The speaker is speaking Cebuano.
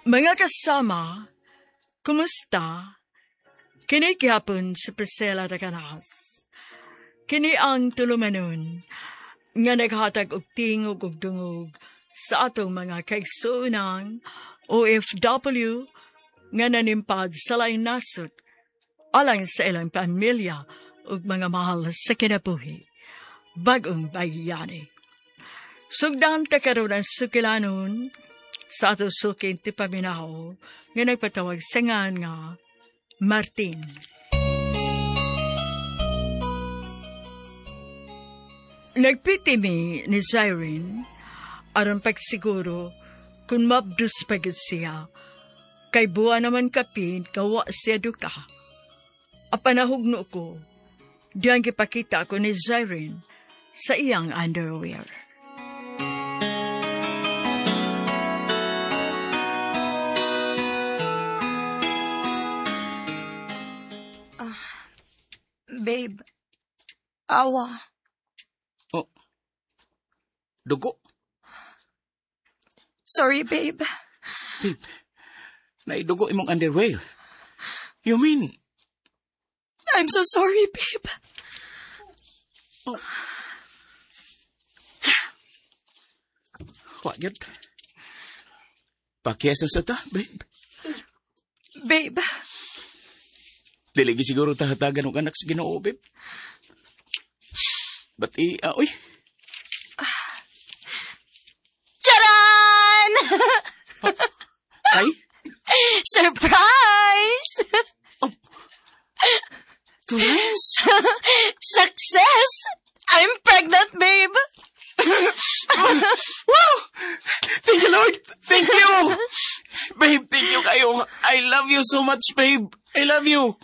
Mga kasama, kumusta? Kini gihapon si Priscilla Raganas. Kini ang tulumanon nga naghatag og tingog og dungog sa atong mga kaigsuonan OFW nga nanimpad sa laing nasod alang sa ilang pamilya ug mga mahal sa kinabuhi. Bagong bayani. Sugdan ta karon ang sukilanon sa atong suking tipaminaw nga nagpatawag sa ngan nga Martin. Nagpiti mi ni Zyrene aron pagsiguro kung mabdus pa gyud siya kay buwa naman kapin kawa siya duka. Apanahugno ko, diyang gipakita ko ni Zyrene sa iyang underwear. Babe, awa. Oh. Dugo. Sorry, babe. Babe, naidugo imong underwear. You mean, I'm so sorry, babe. Oh. Wa gyud. Pakiyasa sa ta, babe. Babe. Dili gyud siguro tahatagan og anak sa Ginoo, babe. But uy. Charan! Ay? Surprise! Oh. Twins? Success! I'm pregnant, babe! Wow! Thank you, Lord! Thank you! Babe, thank you kayo. I love you so much, babe. I love you.